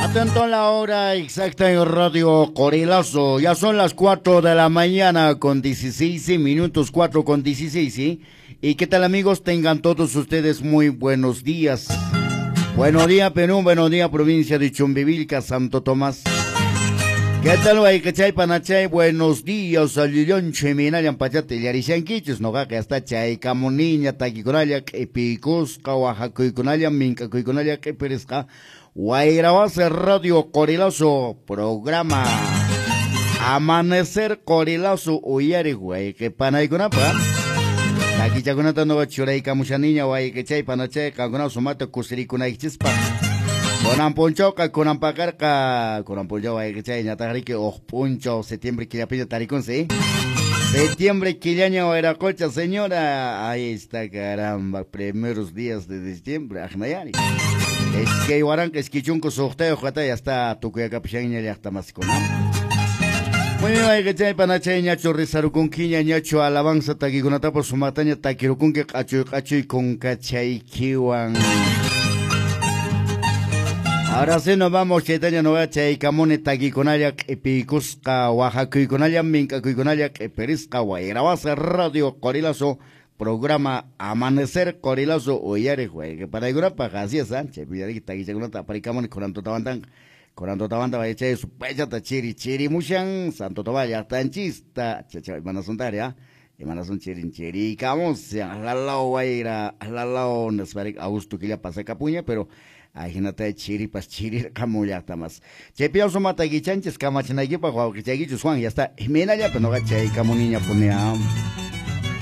Atento a la hora exacta en Radio Qorilazo. Ya son las 4 de la mañana con 16 minutos, 4:16, ¿sí? ¿Y qué tal, amigos? Tengan todos ustedes muy buenos días. Buenos días, Perú, buenos días, provincia de Chumbivilca, Santo Tomás. ¿Qué tal, wayqichay, panachay? Buenos días, allillancho, imaynallan pachata illarishankichis, noqaqa hasta chaykamuniña takikunalla q'ipiykusqa, waqakuykunalla, mink'akuykunalla q'ipirisqa, Wayrawasi Radio Qorilazo programa Amanecer Qorilazo uyariq wayqi panaykunapaq. Takichakunata noqa churaykamushaniña wayqichay, panachay, qankuna sumata kusirikunaykichispaq. Kunan punchawqa, kunan paqarqa, kunan punchaw wayqichay ñataqriki uq p'unchaw septiembre killapiña tarikunsi. Septiembre killaña wayraqocha, señora. Ahí está, caramba, primeros días de diciembre, aqnayari. 2026 wata ya está tukuyakapishanña llaqtamasikuna. Muy bien, wayqichay, panachay, ñachu rizarukunkiña, ñachu alabanza takikunatapas sumataña takirukunki q'achuy q'achuy kunkachaykiwan. Ahora sí nos vamos, chaytaña noqa chaykamuni takikunalla q'ipiykusqa, waqakuykunalla, mink'akuykunalla q'ipirisqa, Wayrawasi Radio Qorilazo programa Amanecer Qorilazo uyariq wayqi panaykunapaq, así es, chaypi takichakunata aparikamuni kunan tutamantanqa. Kunan tutamanta waychay supaychata chiri chirimushan Santo Tomás llaqtanchista, chacha imanasuntari, imanasun chirin chirikamushan, lalao wayra, lalao nisparik agosto killa pasakapuña, pero ajinata chiripas chirirqamun llaqtamas. Chaypi sumata kichanchis kamachinaykipaq wawqichaykichus Juan, ya está, imaynallapi noqa chaykamuniña punia.